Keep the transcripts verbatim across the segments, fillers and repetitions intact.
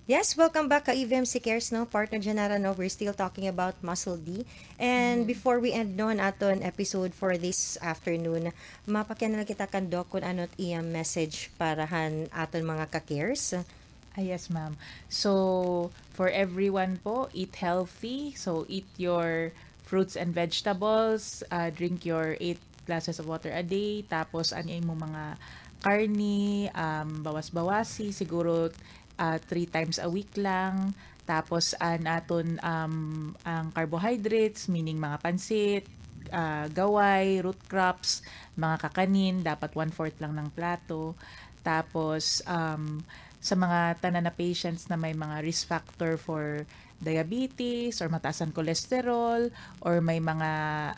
Yes, welcome back ka E V M C Cares, no? Partner Janara, no? We're still talking about Muscle D. And before we end, no, an aton episode for this afternoon, mapakiana la kita kan Doc kun ano it iya message para han aton mga ka-cares. Ah, yes, ma'am. So, for everyone po, eat healthy. So, eat your fruits and vegetables, ah, drink your eight glasses of water a day, tapos an imo mga karne, um, bawas-bawasi, siguro, ah, three times a week lang. Tapos an aton, um, an carbohydrates, meaning mga pansit, ah, gaway, root crops, mga kakanin, dapat one-fourth lang ng plato. Tapos, um, sa mga tanan na patients na may mga risk factor for diabetes or mataas an cholesterol or may mga,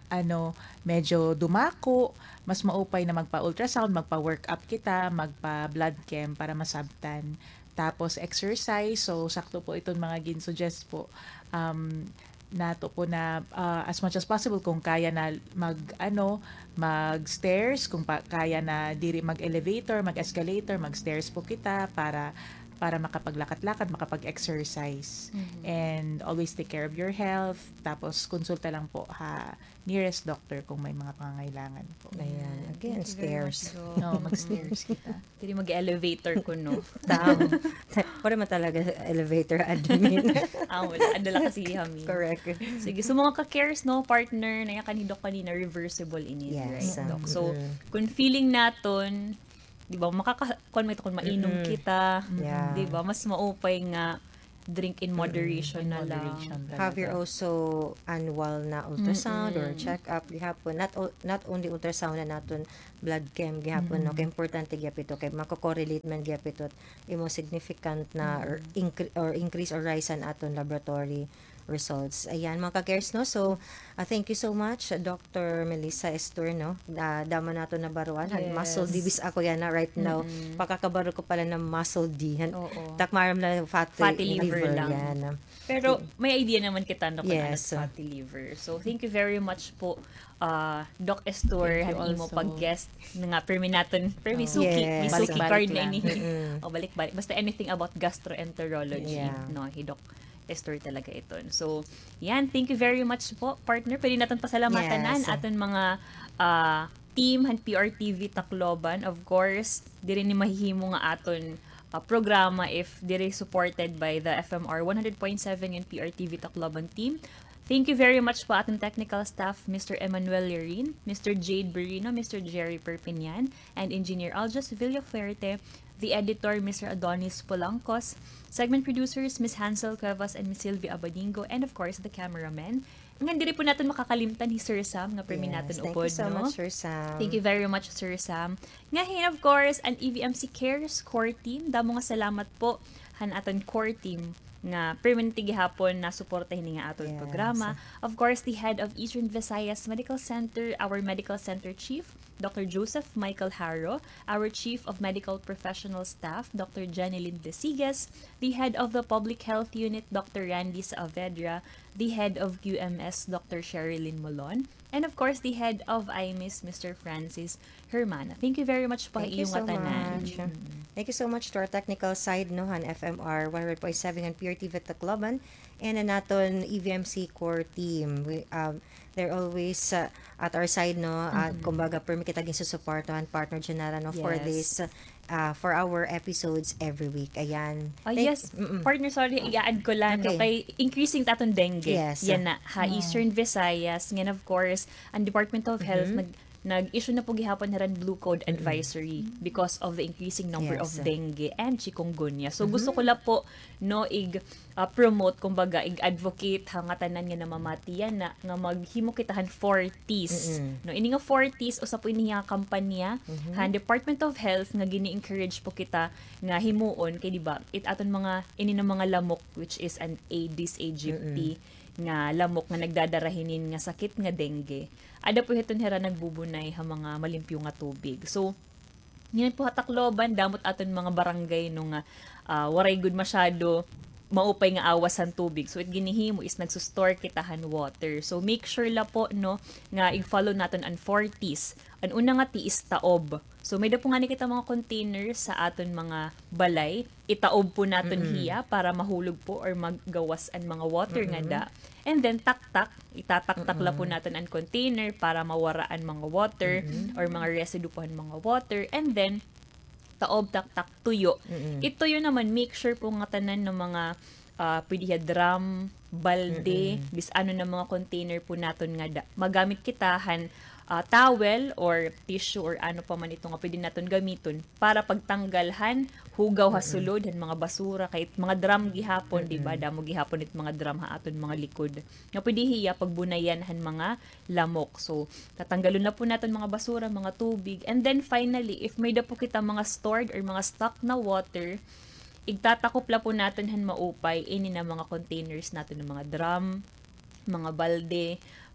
ano, medyo dumako, mas maupay na magpa-ultrasound, magpa-workup kita, magpa-blood chem para masabtan. Tapos exercise, so sakto po iton mga gin-suggest po, um, nato po na, ah, as much as possible kung kaya na mag, ano, mag-stairs, kung pa, kaya na diri mag-elevator, mag-escalator, mag-stairs po kita para, para makapaglakat-lakat, makapag-exercise. And always take care of your health. Tapos konsulta lang po ha nearest doctor kung may mga pangangailangan po. Ayan. Again, stairs. No, mag-stairs kita. Diri mag-elevator kuno. Tama. Wala man talaga elevator admin. Ah, wala. Ada la kasi kami. Correct. Sige, so mga ka-cares, no, partner, naya kan hi Doc kanina, reversible ini, right, Doc? So, kung feeling naton, di ba, makaka-, kuan man ito kung mainom kita, di ba, mas maupay nga drink in moderation na lang. Have your also annual na ultrasound or check-up gihapon. Not o-, not only ultrasound na naton blood chem gihapon, no? Kay importante gihapon ito, kay mako-correlate man gihapon ito, imo significant na or incre-, or increase or rise an aton laboratory results. Ayan, mga ka-cares, no? So, ah, thank you so much, Doctor Melissa Estor, no? Ah, damo naton nabaruan, han muscle D, bis ako yana right now. Pakakabaro ko pala na muscle D. Han, tak maaram la fatty liver lang. Pero may idea naman kita, no, kung ano fatty liver. So, thank you very much po, ah, Doc Estor, han imo pag-guest nga permi naton, permi suki, may suki card na ini. O, balik-balik. Basta anything about gastroenterology, no, hi Doc Estor talaga iton. So, yan, thank you very much po, partner. Pwede naton pasalamatan an aton mga, ah, team han P R T V Tacloban. Of course, diri ni mahihimo nga aton, ah, programa if diri supported by the F M R one hundred point seven and P R T V Tacloban team. Thank you very much po aton technical staff, Mister Emmanuel Lirin, Mister Jade Berino, Mister Jerry Perpignan, and Engineer Aljas Villafuerte, the editor, Mister Adonis Polancos, segment producers, Miss Hansel Cuevas and Miss Sylvia Abadingo, and of course, the cameraman. Ngan diri po naton makakalimtan hi Sir Sam nga permi naton upod, no? Thank you very much, Sir Sam. Ngahin, of course, an E V M C Cares core team. Damo nga salamat po han aton core team nga permanente gihapon nasuporta hini nga aton programa. Of course, the head of Eastern Visayas Medical Center, our medical center chief, Doctor Joseph Michael Haro, our Chief of Medical Professional Staff, Doctor Jenilyn Desigas, the head of the Public Health Unit, Doctor Randy Saavedra, the head of Q M S, Doctor Sherilyn Molon, and of course, the head of I M I S, Mister Francis Hermana. Thank you very much po ha iyo ngatanan. Thank you so much to our technical side, no, han F M R one hundred point seven han P R T V Tacloban, and an aton E V M C core team. We, um, They're always, uh, at our side, no? At kumbaga, permi kita ginsusuportahan, partner Janara, no, for this, uh, for our episodes every week. Ayan. Ah, yes, partner, sorry, i-add ko lang, no, kay increasing ta aton dengue. Yes. Yana, ha Eastern Visayas. Ngan, of course, an Department of Health, nag-, nag-issue na po gihapon hira hin Blue Code Advisory because of the increasing number of dengue and chikungunya. So, gusto ko la po, no, ig- ah, promote, kumbaga, ig-advocate ha ngatanan nga namamati yana, nga maghimo kita han four Ts. No, ini nga four Ts, usa po ini nga kampanya han Department of Health nga gini-encourage po kita nga himuon kay, di ba, it aton mga, ini nga mga lamok, which is an Aedes aegypti nga lamok nga nagdadara hinin nga sakit nga dengue. Ada po hiton hira nagbubunay ha mga malimpyo nga tubig. So, ngan po ha Tacloban, damo it aton mga barangay, no, nga, ah, waray gud masyado maupay nga awas han tubig. So, it ginhihimo is nagso-store kita han water. So, make sure la po, no, nga ig-follow naton an four Ts. An una nga T is taob. So, may-ada po ngani kita mga container sa aton mga balay. Itaob po naton hiya para mahulog po or maggawas an mga water nga da. And then, taktak. Itataktak la po naton an container para mawara an mga water or mga residue po han mga water. And then, taob, taktak, tuyo. It tuyo naman, make sure po nga tanan nga mga, ah, pwede hiya drum, balde, bisan ano nga mga container po naton nga da-, magamit kita han, ah, towel or tissue or ano pa man ito nga pwede naton gamiton para pagtanggal han hugaw ha sulod, han mga basura, kay mga drum gihapon, di ba? Damo gihapon it mga drum ha aton mga likod. Nga pwede hiya pagbunayan han mga lamok. So, tatanggalon na po naton mga basura, mga tubig. And then finally, if may-ada po kita mga stored or mga stock na water, igtatakop la po naton han maupay ini nga mga containers naton nga mga drum, mga balde,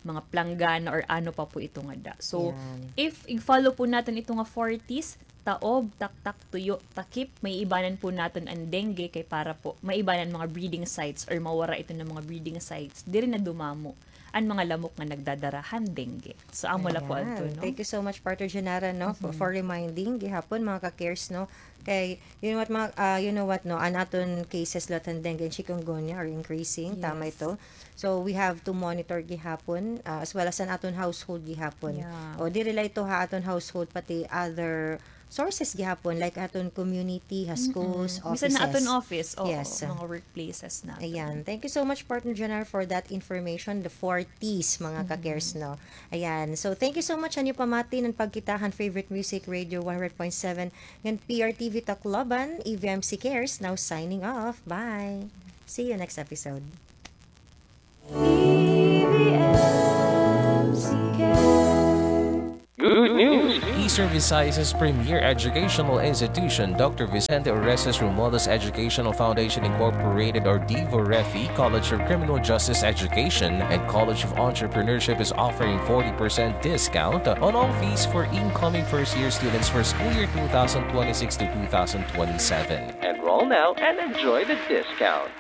mga planggana, or ano pa po ito nga da. So, if ig-follow po naton ito nga four Ts, taob, taktak, tuyo, takip, maiibanan po naton an dengue kay para po maibanan mga breeding sites or mawara ito nga mga breeding sites. Diri na dumamo an mga lamok nga nagdadara han dengue. So, amo la po adto, no? Thank you so much, Partner Janara, no, for, for reminding gihapon, mga ka-cares, no? Kay, you know what, mga, ah, you know what, no, an aton cases la han dengue and chikungunya are increasing. Tama ito. So, we have to monitor gihapon, ah, as well as an aton household gihapon. O, diri la ito ha aton household, pati other sources gihapon, like aton community, ha schools, offices. Bisan ha aton office, oo, mga workplaces naton. Ayan. Thank you so much, Partner Janara, for that information, the four Ts, mga ka-cares, no? Ayan. So, thank you so much, an iyo pamati, an pagkita han favorite music radio, one hundred point seven, ngan P R T V Tacloban, E V M C Cares, now signing off. Bye! See you next episode. Good news! Eastern Visayas' premier educational institution, Doctor Vicente Orestes Romualdez Educational Foundation Incorporated, or DVOREFI, College of Criminal Justice Education, and College of Entrepreneurship is offering forty percent discount on all fees for incoming first-year students for school year two thousand twenty-six to two thousand twenty-seven. Enroll now and enjoy the discount.